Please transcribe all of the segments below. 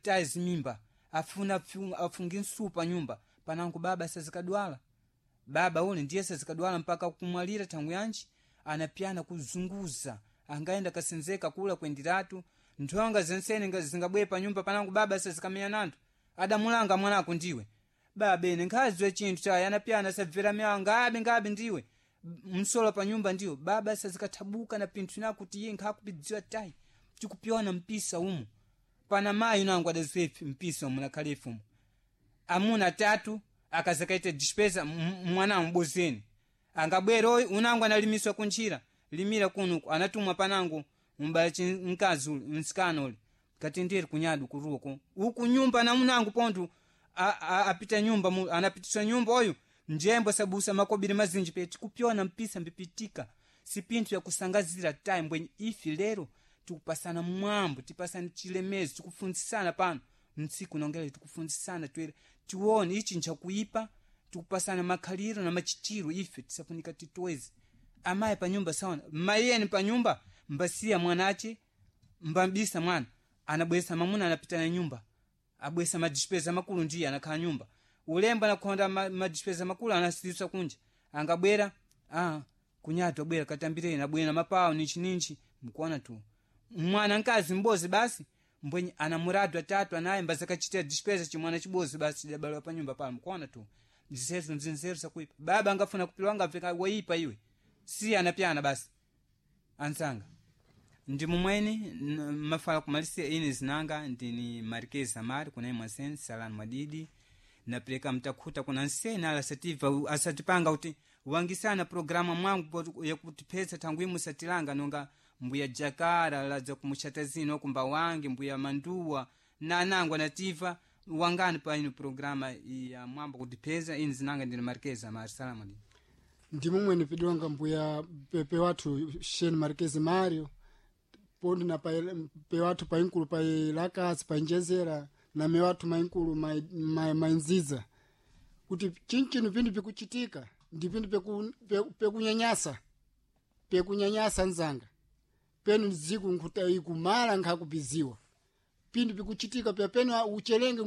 taye zimimba afuna afunge nsupa nyumba panango baba sazikadwala baba ule ndiye sazikadwala mpaka kumwalira thangu yanji anapyana kuzunguza angaenda kasenzeka kula kwendiratu nthonga zensene zingabwere pa nyumba panango baba sazikamenya nanthu adamulanga mwanako ndiwe baba ine nkhaziwe chinthu chaye anapyana sabvera myawa ngabe ngabe ndiwe msolo pa nyumba ndiwo baba sazikathabuka na pinthu na kuti iye nkhakupidziwa tayi tikupyona mpisa umu pana mayi nangu adaziwe mpisa umu nakhale ifumu amuna tatu akazakaita dispesa mwana mbozeni angabwera oyu unangu analimiswa kuntchira limira kunuku anatumwa panangu mbala mkazi uli msikana uli kati ndiri kunyadu kuruko uku nyumba na munangu pontu apita nyumba anapitiswa nyumba oyu njembo sabusa makobiri mazinji pe tikupyona mpisa mbipitika si pinthu yakusangazira tayi mbwenye ifi lero tikupasana mwambo tipasana chilemezo tikufunzisana pano mtsiku nongele tikufunzisana twere tione ichi nchakuipa tikupasana makhaliro na machitiro ife tisafunika titweze amayi panyumba saona mayeni panyumba mbasiya mwanache mbambisa mwana anabwesa mamuna anapita na nyumba abwesa madispesa makulu ndiye anakhala nyumba ulemba anakhonda madispesa makulu anasisa kunja angabwera kunyatu abwera katambireni abwera mapawo ninchi ninchi mkuona tu mwana nkazi mbozi basi mbwenye ana muradu atatu anaye mbazakachitira dispesa chimwana chibozi basi chidabaliwa pa nyumba pano mkuona tu zisezo nzinzeru zakuipa baba angafuna kupilwa angapfeka waipa iwe si anapyana basi ansanga ndi mumweni mafala kumalisia ine zinanga ndini Marquez Amari kuna imwe salani mwadidi napereka mtakhuta kuna nsene ala asativa asatipanga kuti wangisana programa mwangu yakutiphetsa thangu imwe satilanga nonga mbuya jakara ladza kumuchata zino kumba wange mbuya manduwa na anangu anativa wangani pa ino programa ya mwambo kutipheza ine zinanga ndini Marquez Amari salamu mwadidi. Ndi mumweni pidonga mbuya pepe wathu Shane Marquez Mario pondi na pe wathu painkulu pailakasi painjezera na me wathu mainkulu mainziza kuti chinchino pindu pikuchitika ndi pindu pekunyanyasa pekunyanyasa nzanga penu ziku nkhuta ikumala nkhakupiziwa pindu pikuchitika pya penu uchelenge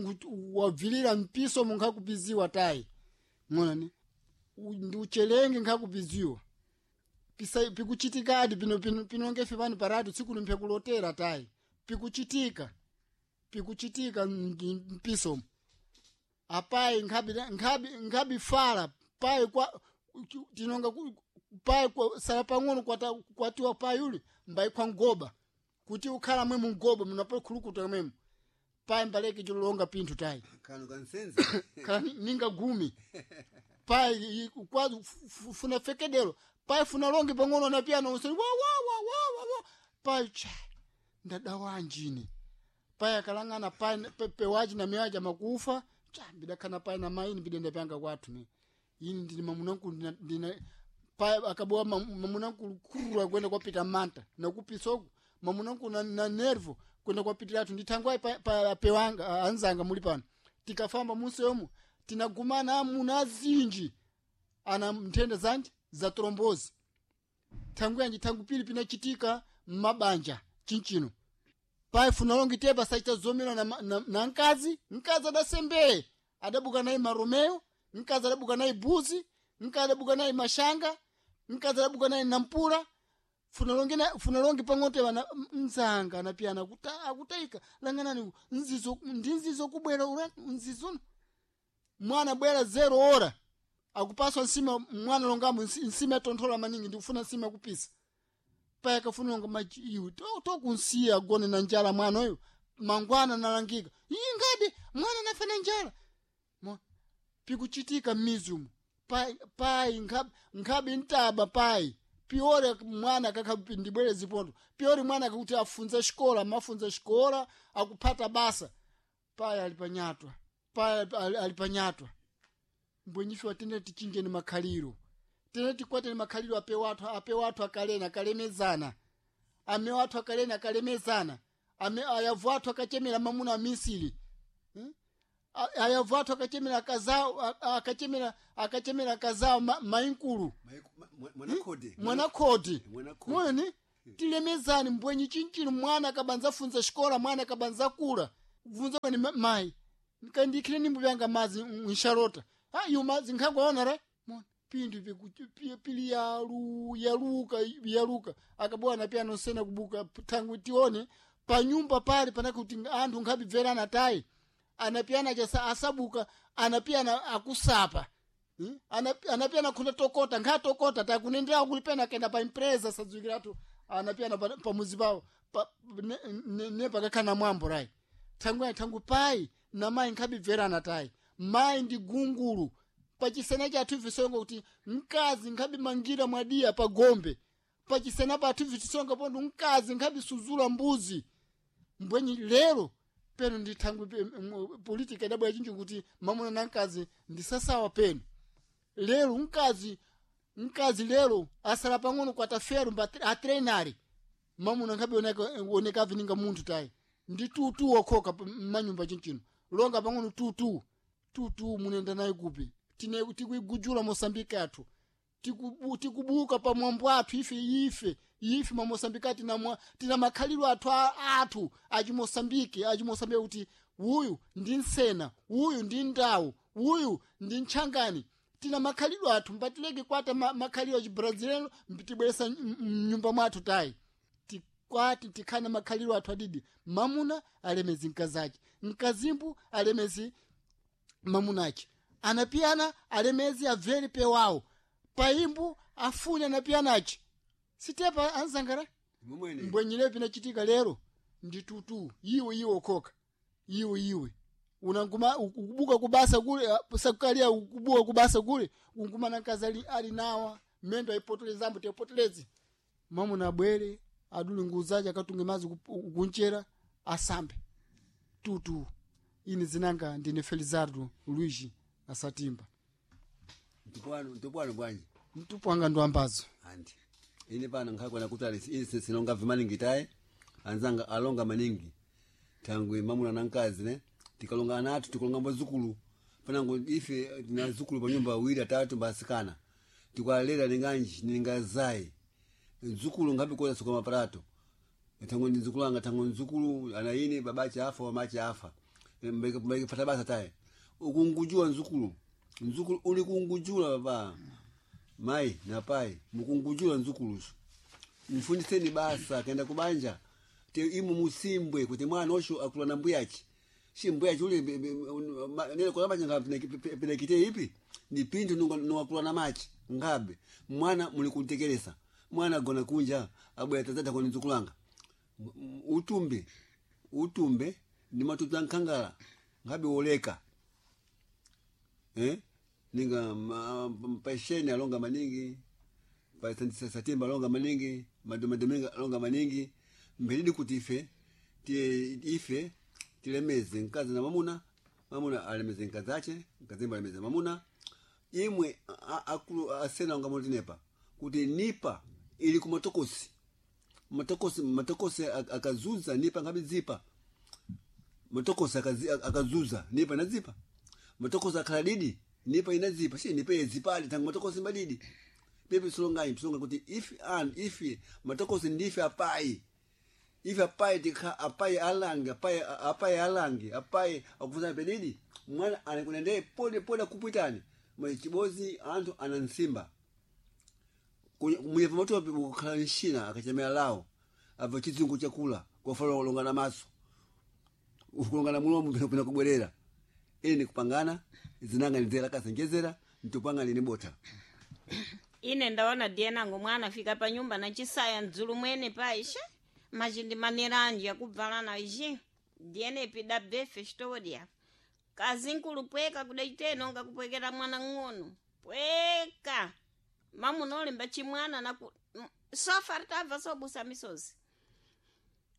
wabvilira mpiso munkhakupiziwa tayi ng'onani ndi uchelenge nkhakupiziwa pisa pikuchitikadi pino pino pinongefe pano paratu tsiku limphekulotera tayi pikuchitika pikuchitika mpisomo apayi nkhabi nkhabi nkhabi fala payi kwa tinonga payi kwa sala pang'ono kwata kwatiwa payi uli mbayi kwa ngoba kuti ukhala mwe mungoba munapo khulukuta mwemu payi mbaleke chilolonga pinthu tayi kanu kansenza khala ninga gumi payi kwa funa fekedelo payi funa longe pang'ono na piano usoni wa wa wa wa wa wa payi cha ndadawanjine payi akalang'ana payi pewaji na miwaji makufa cha bidakhana payi na maini bidenda pyanga kwathu ne ini ndili mamunankulu ndina payi akabowa mamunankulu kurura kwenda kwapita manta nakupisoku mamunankulu na nervo kwenda kwapitiratu ndithangwayi pa pewanga anzanga muli pano tikafamba munseyomo tinagumana amuna azinji ana nthenda zanji za trombozi thangu yanji thangu pili pinachitika mmabanja chinchino payi funalongi tepa sachita zomera na mkazi mkazi adasembeye adabuka naye maromeo mkazi adabuka naye buzi mkazi adabuka naye mashanga mkazi adabuka naye nampula funalongi funalongi pang'ono tepa mzanga anapiyana akutayika langanani nzizo ndi nzizo kubwera nzizono mwana bwera zero ora akupaswa nsima mwana longamo nsima yatonthola maningi ndikufuna nsima yakupisa paye akafuna longa machi iwe tokunsiya agone na njala mwana oyo mangwana nalangika iyi ngadi mwana nafa na njala pikuchitika m'mizi umu payi pai, nkhabe ntaba payi piore mwana kakha ndibwere zipondo piore mwana akakuti afunza xikola mafunza xikola akuphata basa payi ali panyatwa payi ali panyatwa mbwenyife watendere tichinjeni makhaliro tene tikwateni makhaliro ape wathu ape wathu akalena akalemezana ame wathu akalena akalemezana ame ayavu athu akachemera mamuna amisiri ayavu athu akachemera akazao akachemera akachemera akazao mainkulu mwanakhodi mwanakhodi mwene tilemezani mbwenyi chinchino mwana akabanza funza xikola mwana akabanza kula Kubvunza kwani mai kandikhile nimbo vyanga mazi nshalota ha iyo mazi nkhagwaona re mona pindu pili yalu yaluka yaluka akabwana pia nosena kubuka tangu tione panyumba pale panakuti anthu nkhabibverana tayi anapiyana chasa asabuka anapiyana akusapa. Anapiyana khunda tokota nkhatokota takunendera kulipena kenda pa impresa sadziwikiratu anapiyana pamuzi pawo pa, ne, ne, ne pakakhana mwambo rayi thangu thangu pai na mayi nkhabibverana tayi mayi ndi gungulu pachisena chathu visonga kuti mkazi nkhabimangira mwadiya pa gombe pachisena pathu vitisonga pondo mkazi nkhabisuzula mbuzi mbwenyi lero peno ndi thangwi politika idabwera chinji kuti mamuna na mkazi ndisasawa peno lero mkazi lero asala pang'ono kwata fero mba atrenari mamuna nkhabi oneka avininga munthu tayi ndi tutu okhoka mmanyumba chinchino longa pang'ono tutu tutu munenda naye kupi tine tikuigujula mosambiki athu tikubuka pa mwambo athu ife ife ife mamosambiki tina, tina makhalidwe athu athu achimosambiki achimosambiki kuti uyu ndi nsena uyu ndi ndawu uyu ndi ntchangani tina makhalidwe athu mbatileke kwata makhalidwe achibraziliano tibweresa mnyumba mwathu tayi tikwati tikhane makhalidwe athu adidi mamuna alemezi mkazace mkazimbu alemezi mamunace anapiyana alemezi abvere pewawo paimbu afune anapiyanace sitepa anzangara Mumwene. mbwenyile pinachitika lero ndi tutu iwe iwe okhoka iwe iwe unanguma ukubuka kubasa kule sakukalia ukubuka kubasa kule ungumana mkazi ali nawa mendo aipotelezambo tepotelezi mamuna abwere aduli nguzace akatunge mazi kunchera asambe tutu ine zinanga ndine Felizardo Luigi asatimba Ntupwano bwanji mtupu wanga ndo ambazo andi ine pano nkhakwana kuti ali ine sinonga vimaningi tayi anzanga alonga maningi thangwi mamuna na mkazi ne tikalonga ana athu tikalonga mbazukulu panango ife tina zukulu pa nyumba awiri atatu mbasikana tikwalera ninganji ningazayi mzukulu ngapi koza suka maparato thango ndi mzukulu anga thango mzukulu ana ine babache afa mamache afa mbeke fata basa tayi ukungujua mzukulu mzukulu uli kungujula baba mai na pai mukungujula mzukuluso mfundiseni basa kaenda kubanja te imu musimbwe kuti mwana osho akula na mbuyachi shi mbuyachi ule nene kola machi penekite ipi ni pintu nungakula na machi ngabe mwana muli kuntekelesa mwana agona kunja abwera tazata koni mzukulanga utumbe utumbe ndi matuta nkhangala ngabe woleka eh? Ninga mpasheni alonga maningi pasatimba alonga maningi madomadominga alonga maningi mbelidi kuti ife ife tilemeze mkazi na mamuna mamuna alemeze mkazi ache mkazimba alemeze mamuna imwe akulu asena onga mulitinepa kuti nipa ili kumatokosi matokosi matokosi akazuza nipa ngabe zipa matokosi akazuza nipa nazipa matokosi akhala didi nipa inazipa shi nipa yezipali tangu matokosi mbadidi pepe solonganyi tusonga kuti if and if matokosi ndife apai ife apai tikha apai alange apai apai alange apai akufunza pedidi mwana anakunende pole pole akupwitani mwe chibozi anthu anansimba muyepa matope kukhala nshina akachemera lawo abva chizungu chakula kwafala kulongana maso ukulongana mulomo pena kubwerera ine nikupangana zinanga nizera kasenjezera ntupanga nini bota Ine ndaona dienango mwana afika pa nyumba na chisaya mdzulu mwene paisha machindi maneranji akubvalana iji diene pida befe xitodya kazinkulu pweka kudaiteno ngakupwekera mwana ng'ono pweka mamunolemba chimwana naku sofa tabva sobusa misozi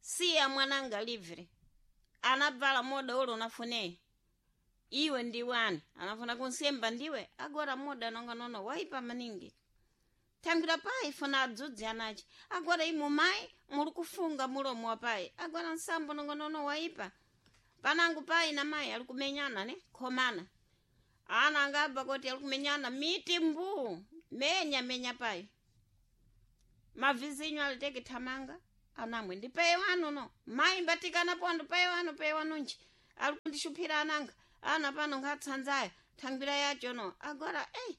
siya mwananga livre anabvala moda ulo unafunee iwe ndiwani anafuna kunsemba ndiwe agora moda nonga nono waipa maningi tangira pai funa adzudzi anachi agora imu mai muli kufunga mulomo wa pai agora nsambo nonga nono waipa panangu pai na mai ali kumenyana ne khomana ana angabva kuti ali kumenyana miti mbuu menya menya pai mavizinyo aliteke thamanga anamwe ndi pai wanu no mai mbatikana pondo pai wanu pai wanu nji Ali kundishuphira ananga ana pano nkhatsanzaya thangwira yacho no agora ei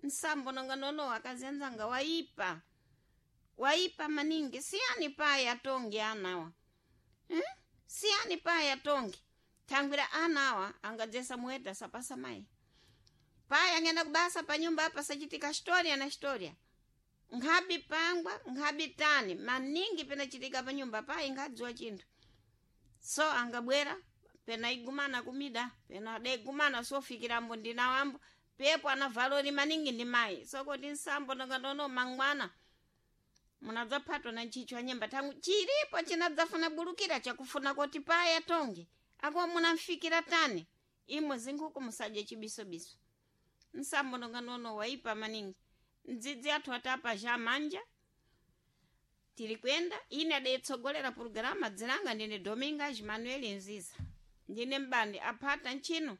nsambo nonga nono akazenzanga waipa waipa maningi siyani pai atongi anawa Siyani pai atongi thangwira anawa angadzesa muweta sapasa mai pai angenda kubasa panyumba apa sachitika storia na storia nkhabi pangwa nkhabi tani maningi penachitika panyumba pai nkhadziwa chinthu so angabwera pena igumana kumida pena adegumana sofikirambo ndinawambo pepo ana valori maningi ndi mayi sokoti nsambo nonganono mangwana munadzaphatwa na ntchitcho anyemba thangu chilipo chinadzafuna bulukira chakufuna koti paya tonge ako munamfikira tani imwe zinkhuku musadye chibisobiso nsambo nonganono waipa maningi mdzidzi athu atapa ja manja tiri kwenda ine adayitsogolera purogirama dzilanga ndine Domingas Manuel Nziza ndine mbandi aphata ntchino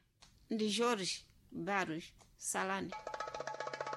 ndi Jorge Barros Salane.